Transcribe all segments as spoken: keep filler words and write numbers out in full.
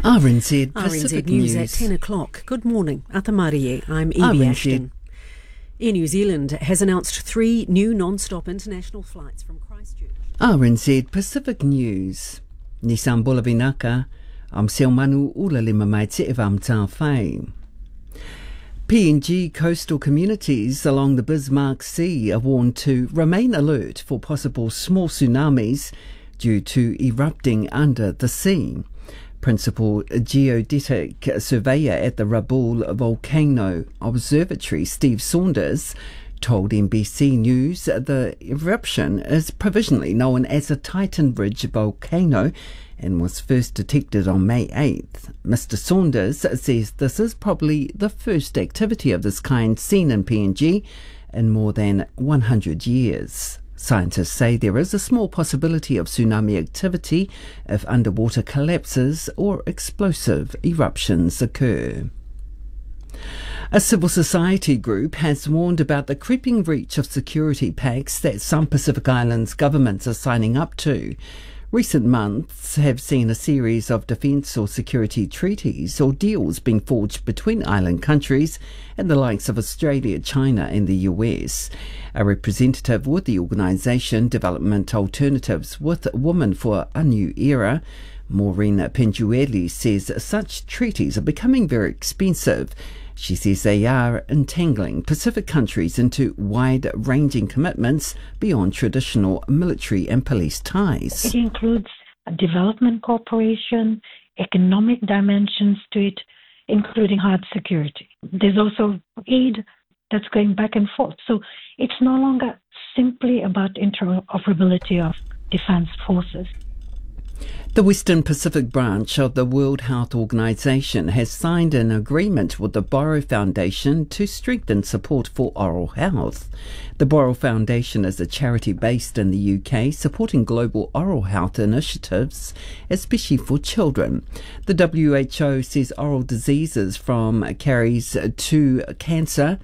R N Z Pacific News at ten o'clock. Good morning. At the Marie, I'm Evie Ashton. Air New Zealand has announced three new non-stop international flights from Christchurch. R N Z Pacific News. Nissan Bulavinaka, am Siomanu Ula Lima Maitse Evam Tafai. P N G coastal communities along the Bismarck Sea are warned to remain alert for possible small tsunamis due to erupting under the sea. Principal geodetic surveyor at the Rabaul Volcano Observatory, Steve Saunders, told N B C News the eruption is provisionally known as a Titan Ridge volcano and was first detected on May eighth. Mister Saunders says this is probably the first activity of this kind seen in P N G in more than one hundred years. Scientists say there is a small possibility of tsunami activity if underwater collapses or explosive eruptions occur. A civil society group has warned about the creeping reach of security pacts that some Pacific Islands governments are signing up to. Recent months have seen a series of defence or security treaties or deals being forged between island countries and the likes of Australia, China, and the U S. A representative with the organisation Development Alternatives with Women for a New Era, Maureen Penjueli, says such treaties are becoming very expensive. She says they are entangling Pacific countries into wide ranging commitments beyond traditional military and police ties. It includes development cooperation, economic dimensions to it, including hard security. There's also aid that's going back and forth. So it's no longer simply about interoperability of defense forces. The Western Pacific branch of the World Health Organization has signed an agreement with the Borrow Foundation to strengthen support for oral health. The Borrow Foundation is a charity based in the U K supporting global oral health initiatives, especially for children. The W H O says oral diseases from caries to cancer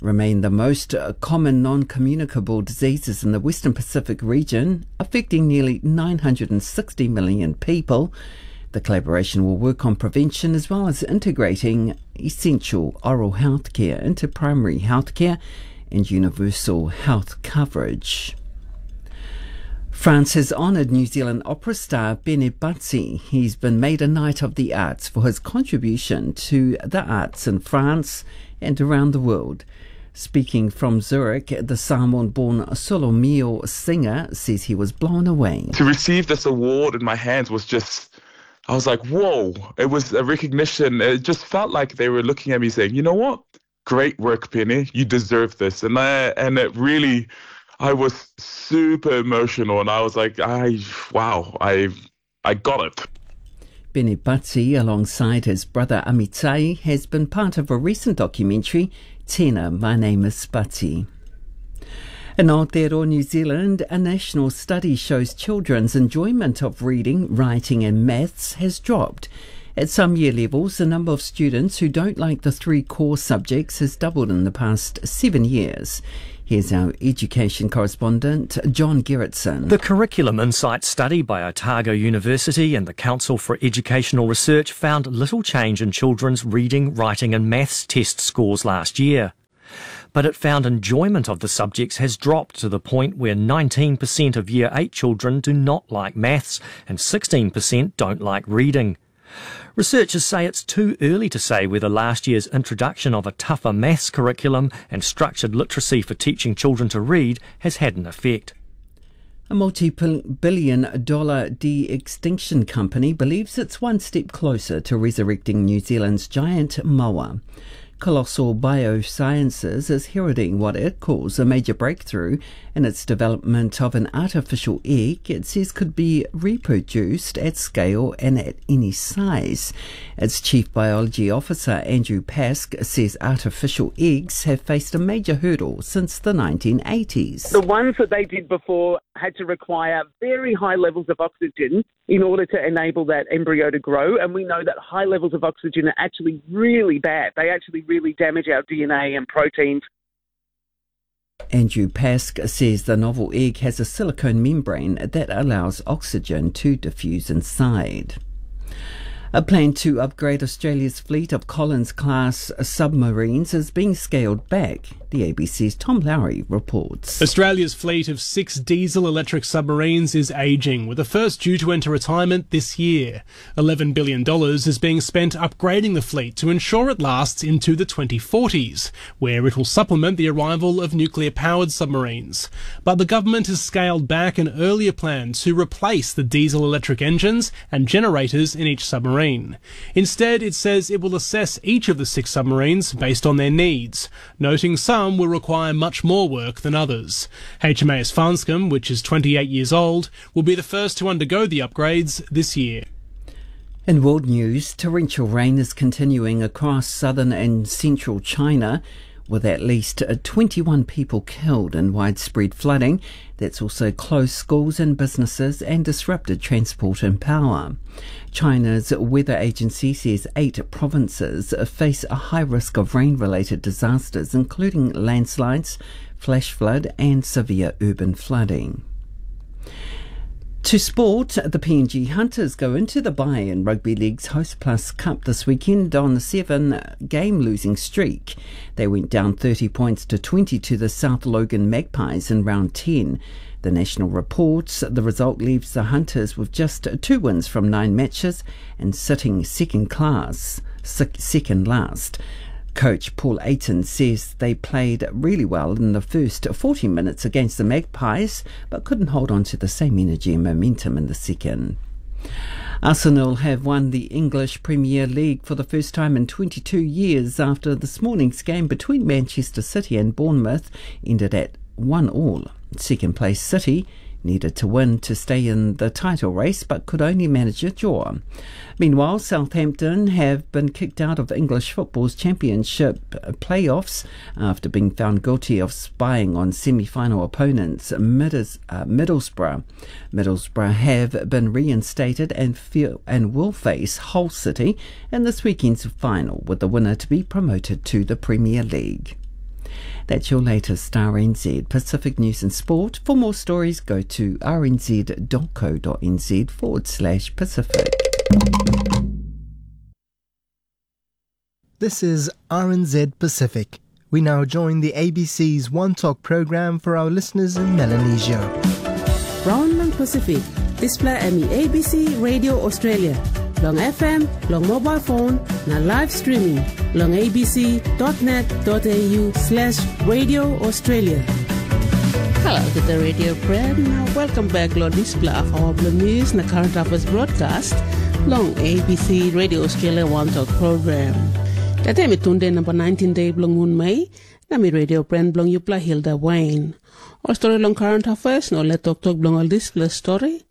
remain the most uh, common non-communicable diseases in the Western Pacific region, affecting nearly nine hundred sixty million people. The collaboration will work on prevention as well as integrating essential oral health care into primary health care and universal health coverage. France has honoured New Zealand opera star Benny Buttsy. He's been made a Knight of the Arts for his contribution to the arts in France and around the world. Speaking from Zurich, the Samoan born Solomio singer says he was blown away. To receive this award in my hands was just, I was like, whoa, it was a recognition. It just felt like they were looking at me saying, you know what? Great work, Penny. You deserve this. And I, and it really, I was super emotional and I was like, I, wow, I, I got it. Benny Buttsy, alongside his brother Amitai, has been part of a recent documentary, Tina, My Name is Buttsy. In Aotearoa, New Zealand, a national study shows children's enjoyment of reading, writing and maths has dropped. At some year levels, the number of students who don't like the three core subjects has doubled in the past seven years. Here's our education correspondent, John Gerritsen. The Curriculum Insight study by Otago University and the Council for Educational Research found little change in children's reading, writing and maths test scores last year. But it found enjoyment of the subjects has dropped to the point where nineteen percent of Year eight children do not like maths and sixteen percent don't like reading. Researchers say it's too early to say whether last year's introduction of a tougher maths curriculum and structured literacy for teaching children to read has had an effect. A multi billion dollar de extinction company believes it's one step closer to resurrecting New Zealand's giant moa. Colossal Biosciences is heralding what it calls a major breakthrough in its development of an artificial egg it says could be reproduced at scale and at any size. Its chief biology officer, Andrew Pask, says artificial eggs have faced a major hurdle since the nineteen eighties. The ones that they did before had to require very high levels of oxygen in order to enable that embryo to grow. And we know that high levels of oxygen are actually really bad. They actually really damage our D N A and proteins. Andrew Pask says the novel egg has a silicone membrane that allows oxygen to diffuse inside. A plan to upgrade Australia's fleet of Collins-class submarines is being scaled back, the A B C's Tom Lowry reports. Australia's fleet of six diesel-electric submarines is ageing, with the first due to enter retirement this year. Eleven billion dollars is being spent upgrading the fleet to ensure it lasts into the twenty forties, where it will supplement the arrival of nuclear-powered submarines. But the government has scaled back an earlier plan to replace the diesel-electric engines and generators in each submarine. Instead, it says it will assess each of the six submarines based on their needs, noting some will require much more work than others. H M A S Farnscombe, which is twenty-eight years old, will be the first to undergo the upgrades this year. In world news, torrential rain is continuing across southern and central China, with at least uh, twenty-one people killed in widespread flooding that's also closed schools and businesses and disrupted transport and power. China's weather agency says eight provinces face a high risk of rain-related disasters, including landslides, flash flood, and severe urban flooding. To sport, the P N G Hunters go into the bye in Rugby League's Host Plus Cup this weekend on a seven-game losing streak. They went down thirty points to twenty to the South Logan Magpies in round ten. The National reports the result leaves the Hunters with just two wins from nine matches and sitting second class, sec- second last. Coach Paul Ayton says they played really well in the first forty minutes against the Magpies, but couldn't hold on to the same energy and momentum in the second. Arsenal have won the English Premier League for the first time in twenty-two years after this morning's game between Manchester City and Bournemouth ended at one all. Second place City needed to win to stay in the title race, but could only manage a draw. Meanwhile, Southampton have been kicked out of English football's championship playoffs after being found guilty of spying on semi-final opponents Middles- uh, Middlesbrough. Middlesbrough have been reinstated and feel and will face Hull City in this weekend's final, with the winner to be promoted to the Premier League. That's your latest R N Z Pacific News and Sport. For more stories, go to R N Z dot co dot N Z forward slash Pacific. This is R N Z Pacific. We now join the A B C's One Talk program for our listeners in Melanesia. Raun long Pasifik, dispela em i A B C Radio Australia, long F M, long mobile phone, na live streaming, long A B C dot net dot A U slash Radio Australia. Hello to the radio friend. Welcome back lo dispela hour bilong news na current affairs broadcast long A B C Radio Australia One Talk program. Tete mi tunde namba nineteen day bilong mun Mei, na mi radio friend bilong yupela Hilda Wayne. Ol story long current affairs na ol toktok bilong ol dispela story.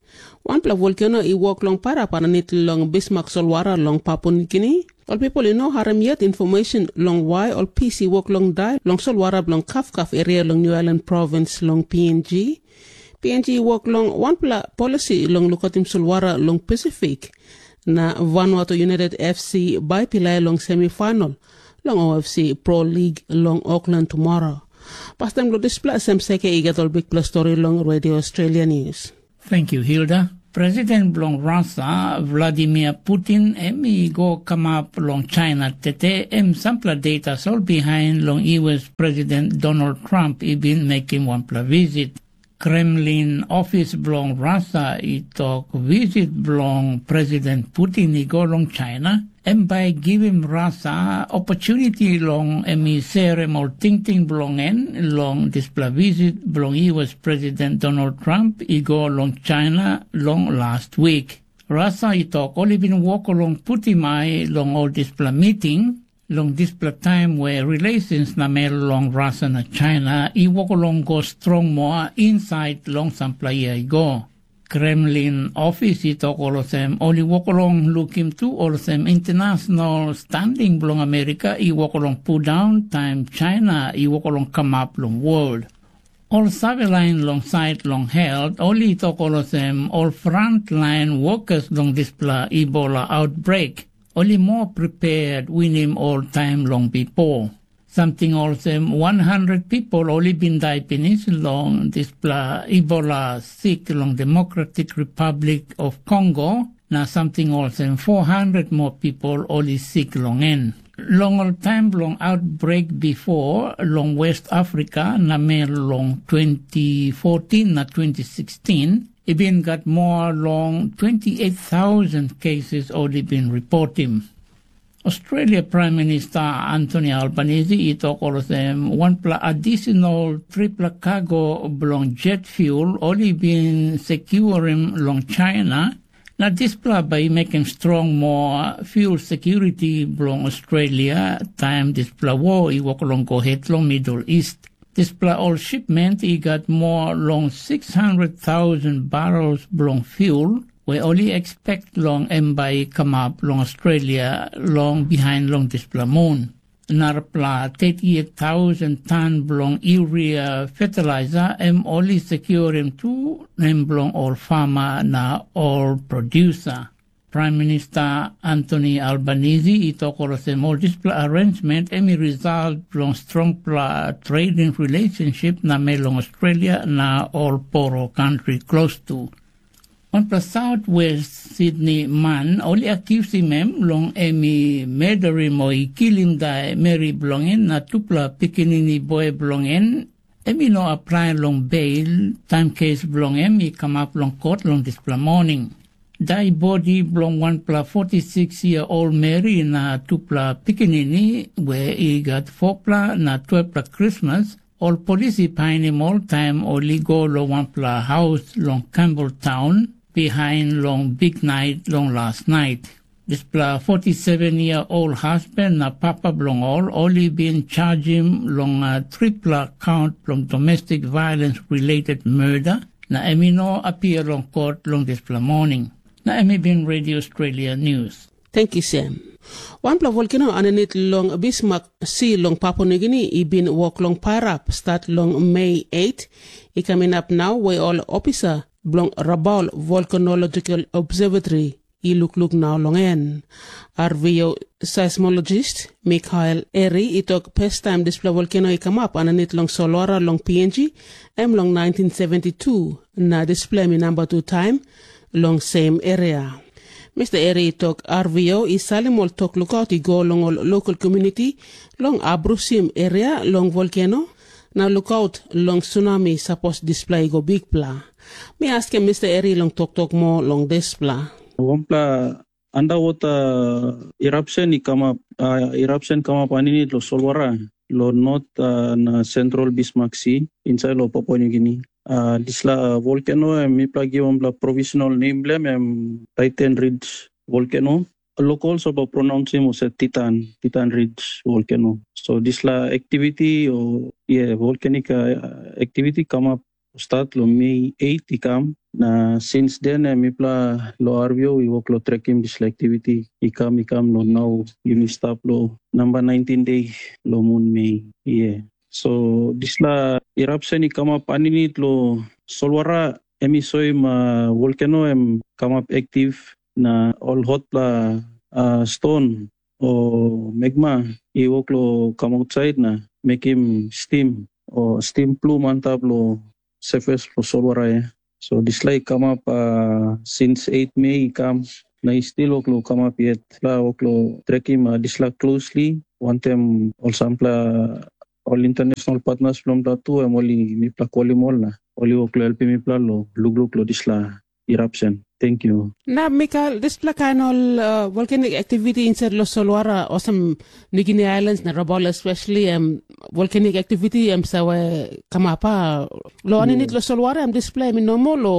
Wanpela volkeno i wok long pairap aninit long Bismarck solwara long Papua Nugini. Ol pipel i no harim yet information long wai ol pis i wok long dai long solwara bilong Kafkaf eria long New Ireland provins long P N G. P N G i wok long wanpela polisi long lukautim solwara long Pasifik, na Vanuatu United F C bai pilai long semifinal long O F C Pro League long Auckland tumora. Pastaim long dispela sem seke i gat ol bikpela stori long Radio Australia News. Thank you, Hilda. President bilong Russia, Vladimir Putin, em i go kamap long China tete, em sampela de tasol bihain long U S President Donald Trump i bin mekim wanpela visit. Kremlin ofis bilong Russia i tok visit bilong President Putin i go long China, em bai givim Russia opportunity long em i serim ol tingting bilong en long dispela visit bilong U S President Donald Trump i go long China long last wik. Russia i tok ol i bin wok long putim ai long ol dispela miting, long dispela taim we relations namel long Russia na China i wok long go strong moa insait long sampela yia i go. Kremlin ofis i tok olsem ol i wok long lukim tu olsem international standing bilong Amerika i wok long pundaun taim China i wok long kamap long world. Ol save lain long sait long helt ol i tok olsem ol frantlain wokas long dispela Ebola outbreak ol i moa prepared winim ol taim long bipo. Samting olsem wan handret pipel ol i bin dai pinis long dispela Ebola sik long Democratic Republic of Congo, na samting olsem four hundred moa pipel ol i sik long en. Long ol taim bilong outbreik bipo long West Afrika namel long twenty fourteen na twenty sixteen, i bin gat moa long twenty eight thousand cases ol i bin ripotim. Australia Prime Minister Anthony Albanese i tok olsem wanpela additional tripela cargo bilong jet fuel ol i bin securim long China, na dispela bai i mekim strong moa fuel security bilong Australia taim dispela war i wok long go het long Middle East. Dispela ol shipment i gat moa long six hundred thousand barrels bilong fuel, we ol i expect long em bai i kamap long Australia long bihain long dispela mun. Narapela thirty eight thousand tan bilong urea fertilizer em ol i securim tu nem bilong ol farmer na ol producer. Prime Minister Anthony Albanese i tok olsem ol dispela arrangement em i result bilong strongpela trading relationship namel long Australia na ol poro country klostu. Wanpela South West Sydney man ol i akiusim em long em i murderim o i kilim dai meri bilong en na tupela pikinini boi bilong en, em i no aplai long beil taim kes bilong em i kamap long kot long dispela moning. Dai bodi bilong wanpela forty six year old meri na tupela pikinini we i gat fopela na twelpela krismas, ol polis i painim ol taim ol i go long wanpela haus long Campbelltown bihain long biknait long las nait. Dispela forty seven year old husband na papa bilong ol, ol i bin chargim long uh, tripela count bilong domestic violence related murder, na em i no appear long court long dispela morning. Na em i bin Radio Australia News. Thank you, Sam. Wanpela volkeno aninit long Bismarck si long Papua Nugini i bin wok long pairap stat long Mei eight, i kam inap nau we ol opisa bilong Rabaul Volcanological Observatory i lukluk nau long en. R V O seismologist Mikael Eri i tok pestaim dispela volkeno i kamap aninit long solwara long P N G, em long nineteen seventy two, na dispela em i namba tu taim long sem eria. Mista Eri i tok R V O i salim ol tok lukaut i go long ol lokal komuniti long abrusim eria long volkeno, na lukaut long sunami sapos dispela i go bikpela. Mi askim Mista Eri long toktok moa long dispela. Wanpela andawota irapsen i kamap, uh, irapsen kamap aninit lo solwara, lo not uh, na sentral Bismarck si, insait lo Papua Nugini. Uh, disla volkeno em mipela givim wanpela provisional nem bilem em Titan Ridge volkeno. Lokol soba pronounsim ose Titan, Titan Ridge volkeno. So disla activity o yeah, volcanic uh, activity kamap start lo Mei eight i kam, na since then em mipela lo R V O i wok lo trekim dispela activity i kam i kam lo nau yumi stap lo namba nineteen day lo mun Mei. Yeah. So dispela eruption i kamap aninit lo solwara em i soim uh, volcano em kamap active na ol hotpela uh, ston o magma i wok lo kam outside na mekim stim o stim plum antap lo surface lo solwara ya. So dispela i kamap uh, since eight Mei i kam na i stil wok lo kamap yet. La wok lo trekim uh, dispela closely wantem ol sampela ol international partners bilong bla tu em ol i mipela kolim ol na ol i wok lo helpim mipela lo lukluk lo dispela eruption. Thank you. Na Mikael, dispela kain ol uh, volcanic activity inside lo solwara osem New Guinea Islands na Rabaul especially em volcanic activity em save kamap a lo aninit lo solwara em dispela em i normal o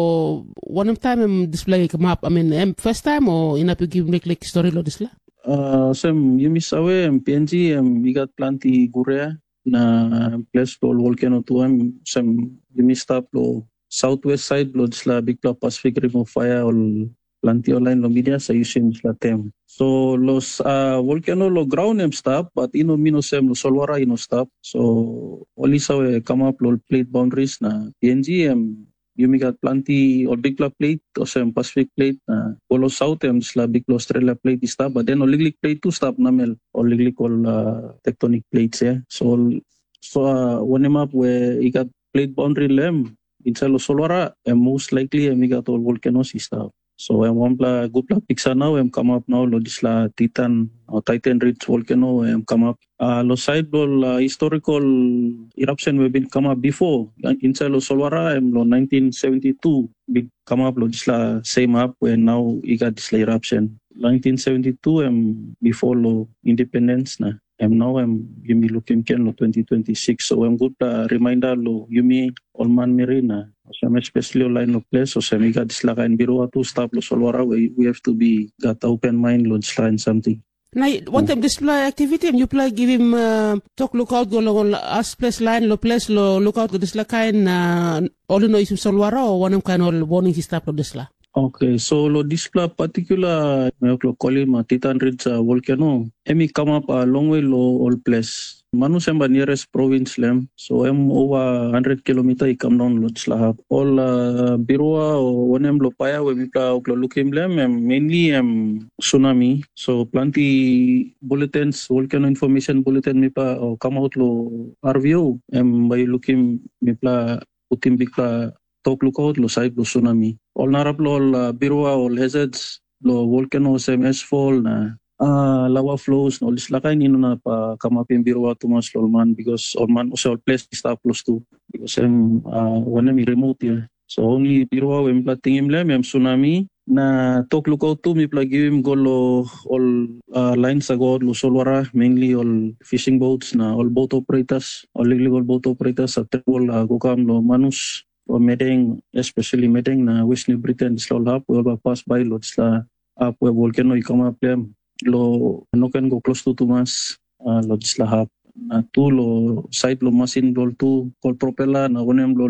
wanem taim em dispela i kamap, I mean, em first time o inap yu givim liklik stori lo dispela? Uh, sem yumi save em P N G em i gat planti guria na ples bilong ol volcano tu em sem yumi stap lo southwest side bilong dispela bikpela Pacific Rim of Fire ol planti ol lain long media sa yusim dispela tem. So los uh, volcano lo graun em stap, but ino min olsem lo solwara ino stap. So ol i save kamap lo plate boundaries na P N G em yumi gat planti ol bikpela plate olsem Pacific plate na go lo south em dispela bikpela Australia plate i stap, but then ol liklik plate tu stap namel ol liklik ol uh, tectonic plates ya. So ol so uh, wanem ap we i gat plate boundary lem inside lo solwara em most likely em i gat ol volcanoes i stap. So em wanpela gutpela piksa nau em kamap nau long dispela Titan o Titan Ridge volcano em kamap. Uh, lo sait bilong uh, historical eruption we bin kamap before inside lo solwara em lo nineteen seventy-two bin kamap lo dispela same up we nau i gat dispela eruption. nineteen seventy-two em before lo independence na em nau em yumi lukim ken lo twenty twenty-six. So em gutpela reminder lo yumi ol manmeri na olsem especially ol lain lo ples olsem i gat dispela kain birua tu stap lo solwara we we have to be gat open mind lo dispela kain samting. Na wantaim dispela aktiviti em yupela givim uh, tok lukaut go long ol asples lain lo ples lo lukaut go dispela kain na ol i no yusim solwara o wanem kain ol warning i stap lo dispela? Okay, so lo dispela particular mevok lo kolim uh, Titan Ridge uh, volcano, em i kamap uh, longwe lo ol ples. Manus em ba nearest province lem, so em over one hundred kilometer i kam down lo dispela hap. Ol uh, birua o wanem lo paia we mipela oklo lukim lem, em mainly em tsunami. So planti bulletins, volcano information bulletin mipela o come out lo R V O, em bai lukim mipela putim bikpela tok lukaut lo sait bilong tsunami. Ol narapela ol uh, birua ol hazards lo volcano olsem asfall na uh, lava flows na ol dispela kain i no inap uh, kamapim birua tumas lo ol man, because ol man olsem ol ples i stap klostu, because em uh, wanem i remote ya. So only birua we mipela tingim lem em tsunami. Na tok lukaut tu mipela givim go lo ol uh, lain sagot lo solwara, mainly ol fishing boats na ol boat operators, ol liklik ol boat operators sa travel uh, go kam lo Manus o Medeng, especially Medeng na West New Britain, dispela ol hap we ol bai pas bai lo dispela hap we volcano i kamap em, lo no ken go klostu tumas uh, lo dispela hap. Na tu lo sait lo masin bilong tu, kol propela na wanem lo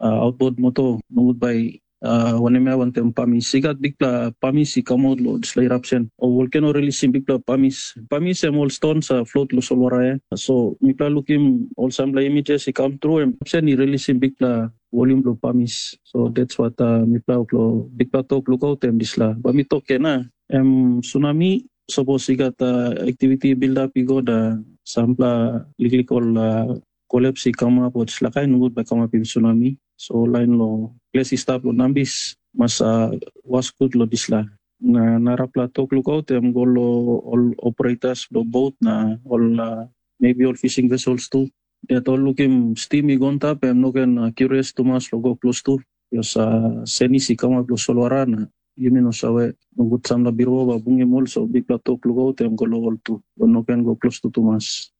uh, outboard motor, nogut bai uh, wanem ya wantaim pamis. I gat bikpela pamis i kamap lo dispela eruption. O volcano releasing bikpela pamis. Pamis em ol stones uh, float lo solwara ya. So mipela lukim ol sampela images i kam tru, em eruption i releasing bikpela volume lo pamis. So that's what uh, mipela lo bikpela tok lukaut em dispela. Ba mi tok kena, em tsunami, sapos i gat uh, activity build up i go da sampela liklik ol uh, collapse i kamap o dispela kain nogut bai kamapim tsunami. So lain lo ples i stap lo nambis mas uh, was gut lo dispela. Na narapela tok lukaut em go lo ol operators lo boat na ol uh, maybe ol fishing vessels tu. Yet ol lukim stim i go antap em no ken uh, curious tumas lo go klostu. Bios uh, senis i kamap lo solwara na yumi no save, nogut sampela birua bai bungim ol, so bikpela tok lukaut em go lo ol tu, ol no ken go klostu tumas.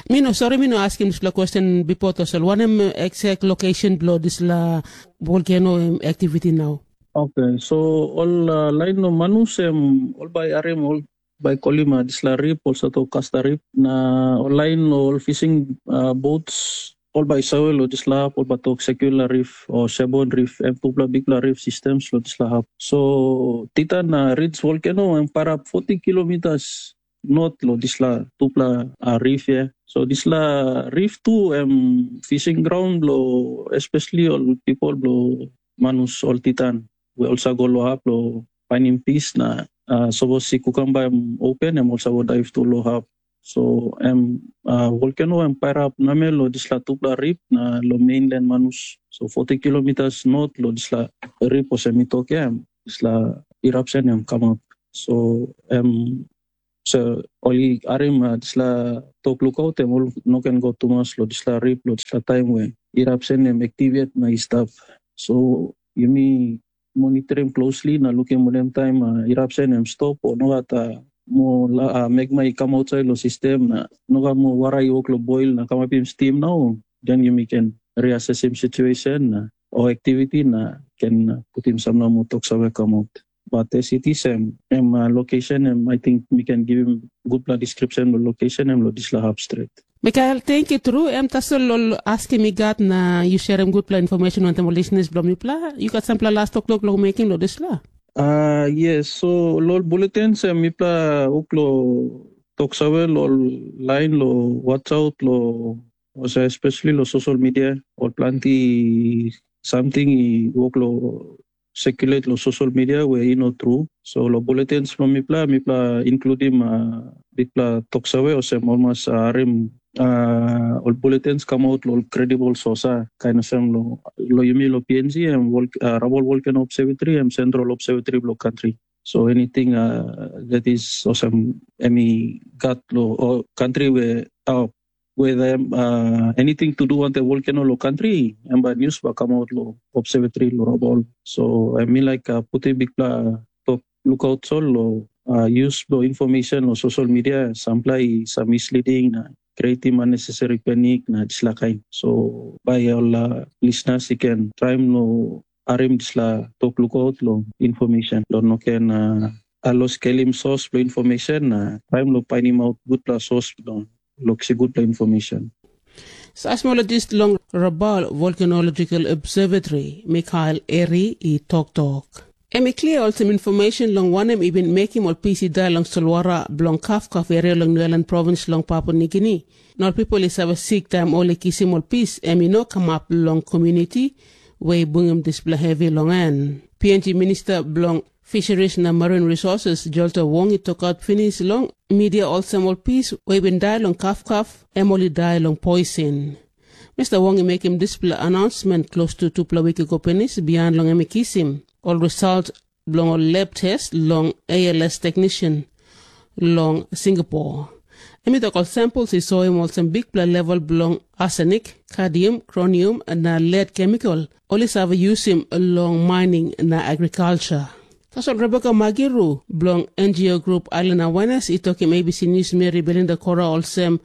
Mi no sori, mi no askim dispela question bipo tasol wanem exact location bilong dispela volcano activity now? Okay, so ol uh, lain lo Manus em ol bai harim ol bai kolim uh, dispela rip, olsem tok Kasta Rip, na ol lain lo ol fishing uh, boats, ol bai save lo dispela hap, ol bai tok Circular Reef o Sebon Reef, em tupela bikpela reef systems lo dispela hap. So Titan na Ridge volcano em pairap forty kilometers not lo dispela tupela uh, reef ya. So dispela reef tu em fishing ground lo especially ol people blo Manus ol Titan we ol sa go lo hap lo painim pis na uh, sapos i kukamba em open em ol sa go daiv tu lo hap. So em uh, volcano em pairap namel lo dispela tupela rip na lo mainland Manus. So forty kilometers not lo dispela rip olsem mi tok ya, em dispela eruption em kamap. So em so ol i harim uh, dispela tok lukaut em ol no ken go tumas lo dispela rip lo dispela taim we eruption em activate na i stap. So yumi monitorim closely na lukim wanem taim uh, eruption em stop o nogat uh, mo uh, magma i kam outside lo sistem na nogat mo wara i wok lo boil na kamapim stim nau, then yumi ken reassessim situation na o activity na ken uh, putim sampela mo tok save kamap. But as it is em, em uh, location em, I think mi can give him gutpela description lo location em lo dispela hap stret. Mikael, thank you tru. Em tasol ol askim i gat na yu sharim gutpela information wantaim ol listeners bilong mipela. Yu gat sampela last toklok long mekim long dispela? Uh, yes, so lo bulletins em mipela uklo tok save lo line lo watch out lo also especially lo social media, ol planti something i wok lo circulate lo social media we i no tru. So lo bulletins bilong mipela, mipela includim uh, bikpela toksave olsem ol mas uh, harim uh, ol bulletins come out lo credible source, uh, kind of sem lo, lo yumi lo P N G, em vol, uh, Rabol Volcano Observatory, em Central Observatory lo country. So anything, uh, that is osem emi gat lo o country where, uh, where them, uh, anything to do on the volcano lo country, em ba news ba come out lo observatory lo Rabol. So I mean like, uh, puti bikpela tok lookout sol lo, uh, use lo information lo social media, sampela i sa misleading na creating unnecessary panic na dispela kain. So bai ol, uh, listeners i ken traim lo harim dispela tok lookout lo information lo no ken, uh, alos kelim source lo information na traim lo painim out gutpela source lo, lo kisim gutpela information. Seismologist long Rabal Volcanological Observatory, Mikhail Eri, i toktok. Em i klia olsem information long wanem i bin mekim ol pis i dai long solwara bilong Kafkaf eria long Niuelan provins long Papua Nigini. Na ol pipel i save sik taim ol i kisim ol pis, em i no kamap long komuniti we i bungim dispela hevi long en. P N G Minista bilong Fisheries na Marine Resources, Jolta Wong, i tokaut pinis long media olsem ol pis we i bin dai long Kafkaf, em ol i dai long poisin. Mista Wong i mekim dispela announcement klostu tupela wik i go pinis, bihain long em i kisim ol result bilong ol lab test long A L S technician long Singapore. Em i tok ol samples i soim olsem bikpela level bilong arsenic, cadmium, chromium na lead chemical ol i save yusim long mining na agriculture. Tasol Rebecca Magiru bilong N G O grup Island Awareness i tokim A B C News meri Belinda Kora olsem,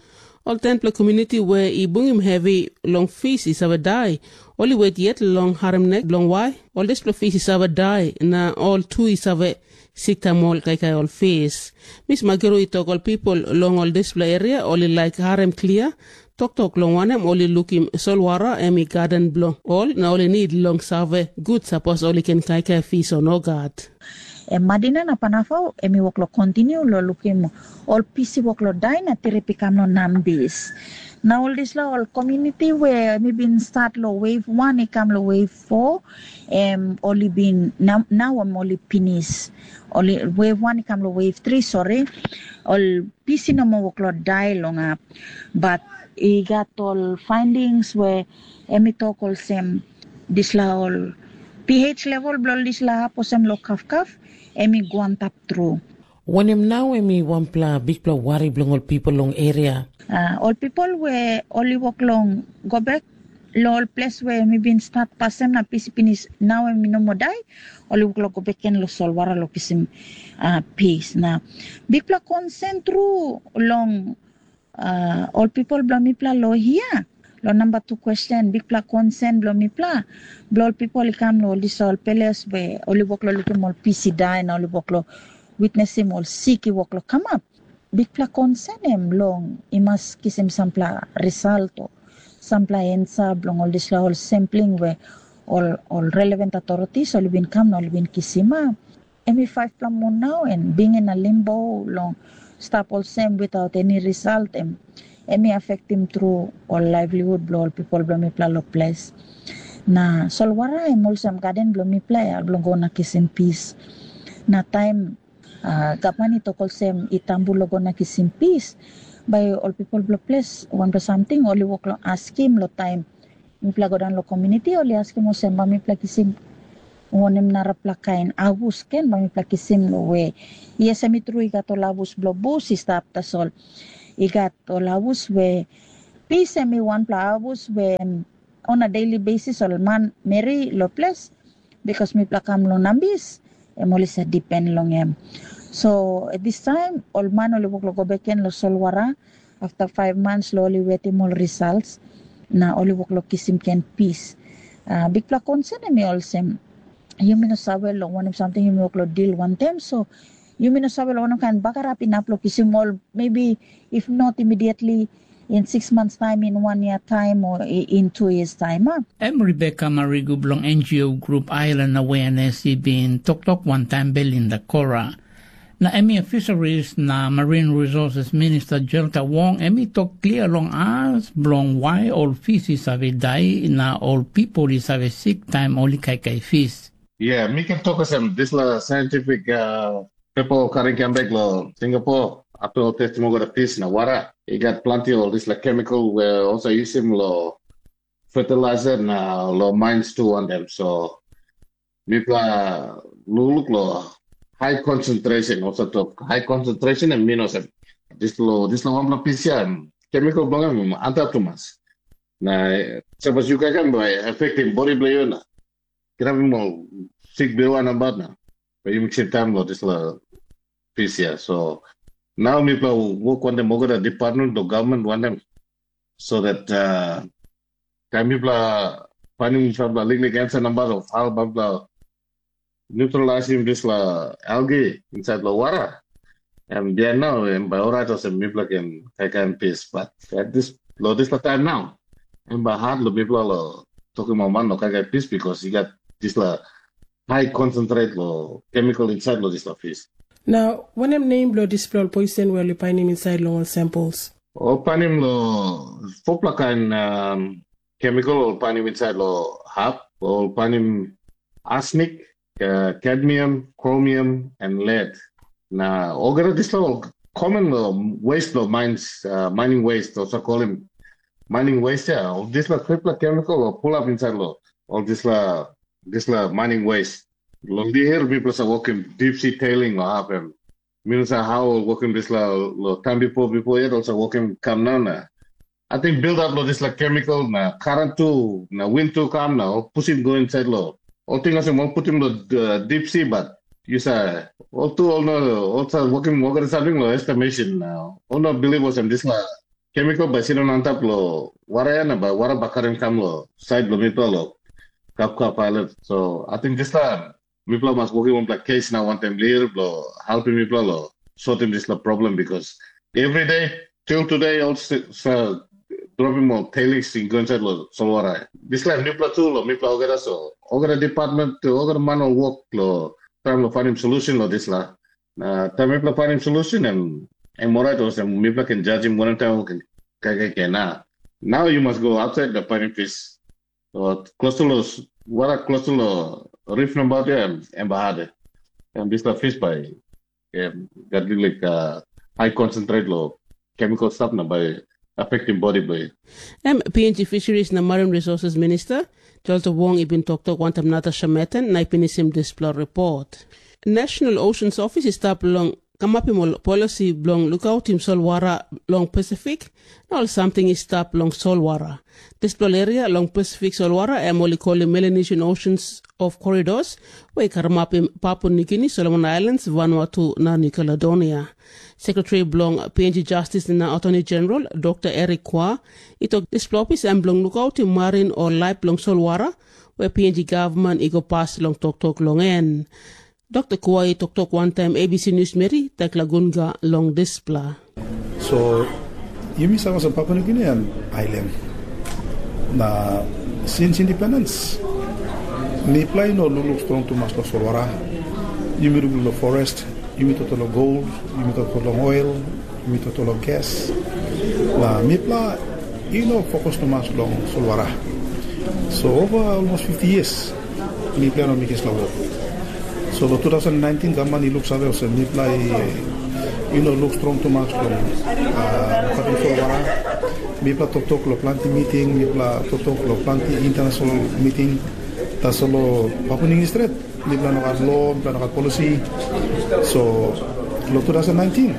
ol tenpela komuniti we i bungim hevi long fis i save dai, ol i wet yet long harim nek bilong wai ol dispela fis i save dai, na ol tu i save sik taim ol kaikai ol fis. Mis Magiru i tok ol pipel long ol dispela eria ol i laik harim klia toktok long wanem ol i lukim solwara em i gaden bilong ol, na ol i nid long save gut sapos ol i ken kaikai fis o nogat. Em madina na panafau em i wok long kontinu long lukim ol pis i wok long dai na trip i kam long nambis. Na ol dispela ol komuniti we em i bin stat long wave wan i kam long wave fo, em ol i bin nau em ol i pinis. Ol wave wan i kam long wave tri, sori, ol pis i no moa wok long dai long ap. Bat i gat ol findings we em i tok olsem, dispela ol pH level bilong dispela hap olsem long kafkaf, em i go antap tru. Wanem nau em i wanpela bikpela wari bilong ol pipel long eria? Uh, ol pipel we ol i wok long go bek long ol ples we mi bin stat pasim na pis pinis, nau em i no moa dai, ol i wok long go bek gen long solwara long kisim uh, pis. Na bikpela konsen tru long uh, ol pipel bilong mipela long hia. Long namba tu question, bikpela konsen bilong mipela, bilong ol pipel i kam long ol disaipel ples we ol i wok long lukim ol pis i dai na ol i wok long witnesim ol sik i wok long kamap. Bikpela konsen em long i mas kisim sampela result o sampela ensa bilong ol dispela ol sampling we ol, ol relevant authorities ol i bin kam na ol i bin kisim. Em i faivpela mun nau, en bingin na limbo long stap olsem without eni result, em em i afektim tru ol livelihood bilong ol pipel bilong mipela long ples. Na solwara em olsem gaden bilong mipela ya bilong go na kisim pis. Na taim uh, gavman i tok olsem i tambu long go na kisim pis, bai ol pipel bilong ples wanpela samting ol i wok long askim long taim mipela go daun long komuniti, ol i askim olsem, bai mipela kisim wanem narapela kain abus ken bai mipela kisim long we? Yes, em i tru i gat ol abus bilong bus i stap, tasol i gat ol abus we pis em i wanpela abus we on a daily basis ol man meri long ples, bikas mipela kam long nambis, em ol i sa dipen long em. So at this time ol man ol i wok long go bek gen long solwara, afta five months long ol i wetim ol results, na ol i wok long kisim ken pis. Uh, bikpela konsen em i olsem, yumi no save long wanem samting yumi wok long dil wantaim, so yumi no save long wanem kain bagarap inap long kisim ol, maybe if not immediately, in six months time, in one year time, or in two years time. Huh? Em Rebecca Marigu bilong N G O grup Island Awareness i bin toktok wantaim Belinda Kora. Na em i Fisheries na Marine Resources Minister Jelta Wong, em i tok klia long as bilong wai ol fis i save dai na ol pipel i save sik taim ol i kaikai fis. Yeah, mi ken tok olsem, dispela scientific uh, people karim kam bek long Singapore. after ol testim olgeta pis na wara, i gat planti ol dispela kemikal we olsa yusim lo fertilizer na lo mines tu wantaim. So mipela lukluk lo high concentration, olsa tok high concentration em min olsem, dispela dispela wanpela pis ya, kemikal bilong em antap tumas. Na sapos yu kaikai bai affecting body bilong yu na kirapim ol sik birua nabat na bai yu miksim taim long dispela pis ya. So nau mipela wok wantaim olgeta department bilong gavman wantaim, so that uh, taim mipela painim sampela liklik ansa nabat of how mipela neutralizim dispela algae inside lo wara. Em bihain nau em bai orait olsem mipela ken kaikai pis, but at this lo dispela taim nau em bai hat lo mipela lo tokim ol man lo kaikai pis, because i gat dispela high concentrate lo chemical inside lo dispela fish. Na wanem nem bilong dispela ol poison we ol i painim insait long ol samples? Ol painim lo fopela kain um, chemical ol painim insait lo hap, ol painim arsenic, uh, cadmium, chromium, and lead. Na olgeta dispela ol common lo waste lo mines, uh, mining waste, also call him mining waste, ya. Ol dispela tripela chemical ol pull up inside lo ol dispela dispela mining waste. Lo lihir mipela sa wokim deep sea tailing lo hap em. Minsa how wokim dispela lo time before before yet also wokim kam nau na. I think build up lo dispela chemical na current tu na wind tu kam na ol pusim go inside lo. Ol ting olsem ol putim lo uh, deep sea, but you sa ol tu ol no ol sa wokim olgeta something lo estimation na. Ol no believe olsem dispela chemical bai sindaun antap lo wara ya na bai wara bai karim kam lo side lo mipela lo Kapkap Island. So I think dispela mipela mas wokim wanpela kes na wantaim lir bilong helpim mipela long sotim dispela problem, because every day till today ol sa dropim ol tailings i go inside long solwara. Dispela mipela tu long mipela olgeta, so olgeta department tu olgeta man ol wok long tram long finding solution long dispela. Na taim mipela painim solution em em orait olsem mipela ken jajim wanem taim ol ken kaikai ken na. Nau yu mas go outside na painim fish. Klostu lo wara klostu lo rif nabaut ya em em bahade. Em dispela fish bai em gat liklik high concentrate lo chemical stuff na bai affecting body bai. Em P N G Fisheries na Marine Resources Minister Jolta Wong i bin toktok wantaim Natasha Metten na i pinisim dispela ripot. National Oceans Office i stap long kamapim ol polisi bilong lukautim solwara long Pasifik na ol samting i stap long solwara. Dispela ol eria long Pasifik solwara em ol i kolim Melanesian Oceans of Corridors, we i karamapim Papua Nugini, Solomon Islands, Vanuatu na New Caledonia. Sekretari bilong P N G Justice na Attorney General Dr. Eric Kua i tok dispela ofis em bilong lukautim marin o laip bilong solwara, we P N G gavman i go pas long toktok long en. Dr. Kua i toktok wantaim A B C News Meri, Tekla Gunga long dispela. So, yumi save olsem Papua Nugini em ailan. Na since independence, mipela i no lukluk strong tumas long solwara. Yumi lukluk long forest, yumi toto long gold, yumi toto long oil, yumi toto long gas. Na mipela i no fokus tumas long solwara. So over almost fifty years, mipela no mekim dispela wok. So long two thousand nineteen gavman i luksave olsem mipela i i no luk strong tumas long lukautim solwara. Mipela toktok long planti miting, mipela toktok long planti international miting. Tasol long Papua Nugini stret, mipela no gat lo, mipela no gat polisi. So long two thousand nineteen,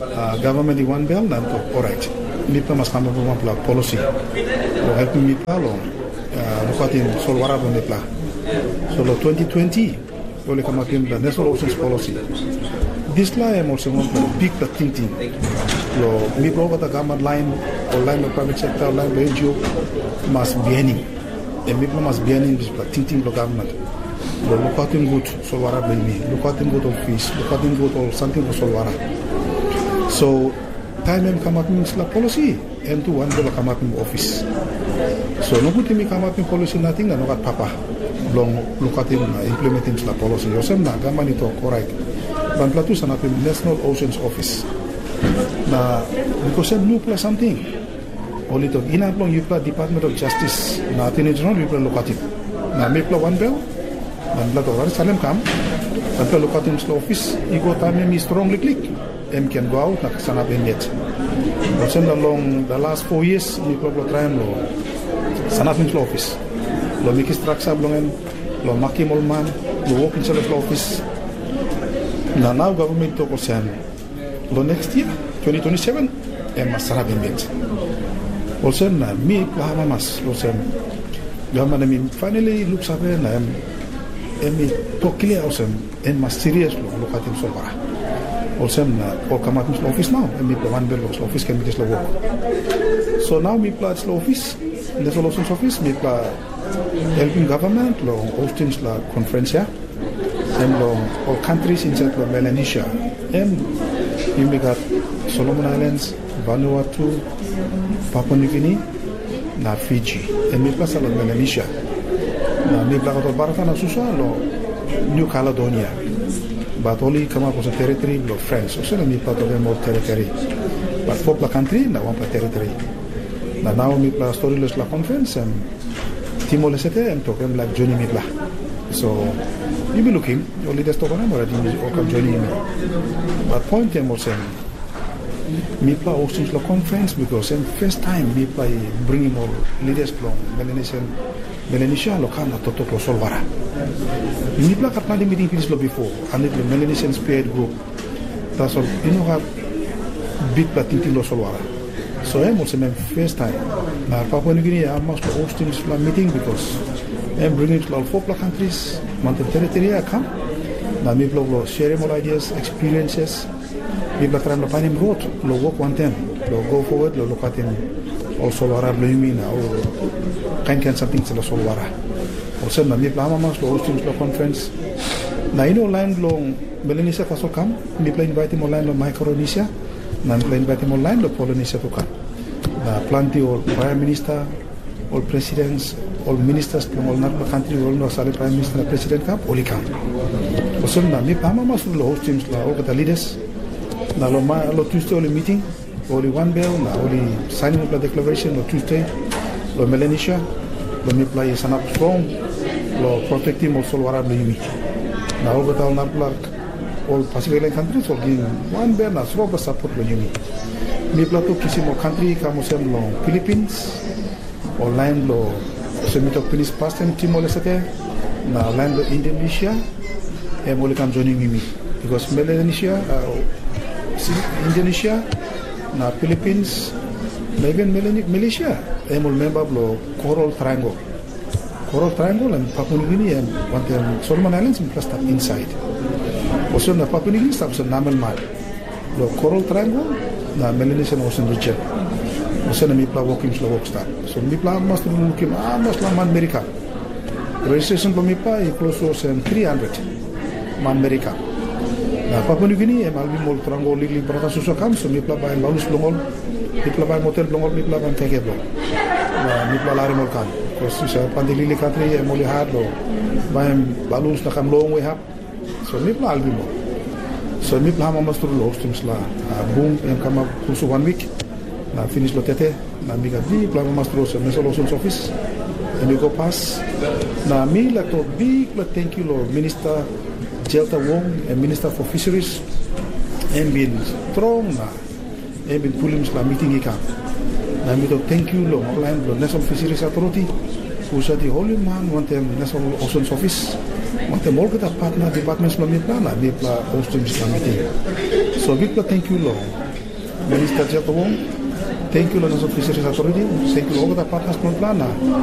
uh, gavman i wanbel na em tok, orait, mipela mas kamapim wanpela polisi long helpim mipela long uh, lukautim solwara bilong mipela. So long twenty twenty, ol i kamapim the National Oceans Policy. Dispela em olsem wanpela bikpela tingting. Long mipela olgeta gavman lain, o lain bilong private sector, lain bilong N G O, mas bihainim. Em mipela mas bihainim dispela tingting bilong gavman. Long lukautim gut solwara bilong mi, lukautim gut ol fish, lukautim gut ol samting bilong solwara. So taim em kamapim dispela polisi, em tu wanbel kamapim ofis. So nogut yumi kamapim polisi nating na no gat papa bilong lukautim na implementim dispela polisi. Olsem na gavman i tok, orait, wanpela tu sanapim National Oceans Office. Na bikos em nupela samting, ol i tok, inap long yupela Department of Justice na Attorney General yupela lukautim. Na mipela wanbel, na mipela tok, orait salim kam, wanpela lukautim dispela ofis, i go taim em i strong liklik. em ken go aut na sanap em yet. Olsem na long the last four years mipela bilong traim long sanapim long ofis, long mekim straksa bilong en, long makim ol man long wok insait long ofis. Na nau gavman i tok olsem, long next year, twenty twenty-seven, em mas sanap em yet. Olsem na mipela amamas olsem, gavman em i finally luksave na em em i tok klia olsem, em mas serious long lukautim solwara. Olsem na ol kamapim long ofis nau, em mipela wanbel long ofis ken mekim dispela wok. So nau mipela dispela ofis, National Oceans Office, mipela helpim gavman long hostim dispela conference ya. Em long ol countries insait long Melanesia. Em yumi gat Solomon Islands, Vanuatu, Papua New Guinea, na Fiji. Em mipela sa long Melanesia. Na mipela gat ol brata na susa long New Caledonia. Bat ol i kamap olsem teritori bilong Frans, olsem na mipela tok em ol teritori. Bat fopela kantri na wanpela teritori. Na nau mipela stori long dispela conference, em Timor Leste em tok em laik joinim mipela. So yumi lukim, ol leaders tok wanem, orait yumi ol kam joinim yumi. Bat point em olsem, mipela hosting long conference, because em first time mipela i bringim ol leaders bilong Melanesian, Melanesia long kam na toktok long solwara. Mipela gat planti meeting pinis long bipo, aninit long Melanesian Spearhead Group. Tasol i no gat bikpela tingting long solwara. So em olsem em first time. Na Papua New Guinea amamas long hostim dispela meeting, because em bringim dispela ol fopela countries, wantaim teritori ya kam. Na mipela ol sharim ol ideas, experiences. Mipela traim long painim rot long wok wantaim, long go forward, long lukautim ol solwara bilong yumi na ol kain kain samting long solwara. Olsem na mipela amamas long hostim dispela conference. Na i no lain bilong Melanesia tasol kam, mipela invaitim ol lain long Micronesia, na mipela invaitim ol lain long Polynesia tu kam. Na planti ol prime minister, ol presidents, ol ministers bilong ol narapela kantri, ol no save prime minister na president kam, ol i kam. Olsem na mipela amamas long hostim long olgeta leaders, na long ma, long Tuesday ol i meeting, ol i wanbel na ol i sainim wanpela declaration long Tuesday long Melanesia, long mipela i sanap strong long protektim ol solwara bilong yumi. Na olgeta ol narapela ol Pacific Island countries ol givim wanbel na strongpela sapot long yumi. Mipela tu kisim ol kantri i kam olsem long Philippines, ol lain bilong, olsem mi tok pinis pastaim, Timor Leste, na lain bilong Indonesia, em ol i kam joinim yumi. Bikos Melanesia, uh, si-, Indonesia, na Philippines, na even Melani-, Malaysia, em ol memba bilong Coral Triangle. Coral Triangle em Papua New Guinea em wantaim Solomon Islands em i stap insait. Olsem na Papua New Guinea stap olsem namelman. Long Coral Triangle na Melanesian Ocean region. Olsem na mipela wokim dispela wok stap. So mipela amamas tu lukim amamas long manmeri i kam. Registration bilong mipela i klostu olsem three hundred manmeri i kam. Na Papua New Guinea em helpim ol trangol liklik brata susa kam, so mipela baim balus bilong ol, mipela baim hotel bilong ol, mipela baim kaikai bilong ol. Na mipela larim ol kam. Bikos yu save, planti liklik kantri em ol i hat long baim balus na kam longwe hap. So mipela helpim ol. So mipela amamas tru long hostim dispela, ah, bung em kamap klostu wan wik. Na pinis long tete, na mi gat bikpela amamas tru olsem National Oceans Office em i go pas. Na mi laik tok bikpela tenkyu long Minista Jelta Wong, em Minista for Fisheries, em bin strong na em bin pulim dispela miting i kam. Na mi tok tenkyu long ol lain bilong National Fisheries Authority, husat i holim man wantaim National Oceans Office, wantaim olgeta patna departments bilong mipela, na mipela hostim dispela miting. So bikpela tenkyu long Minista Jelta Wong, tenkyu long National Fisheries Authority, tenkyu long olgeta patnas bilong mipela, na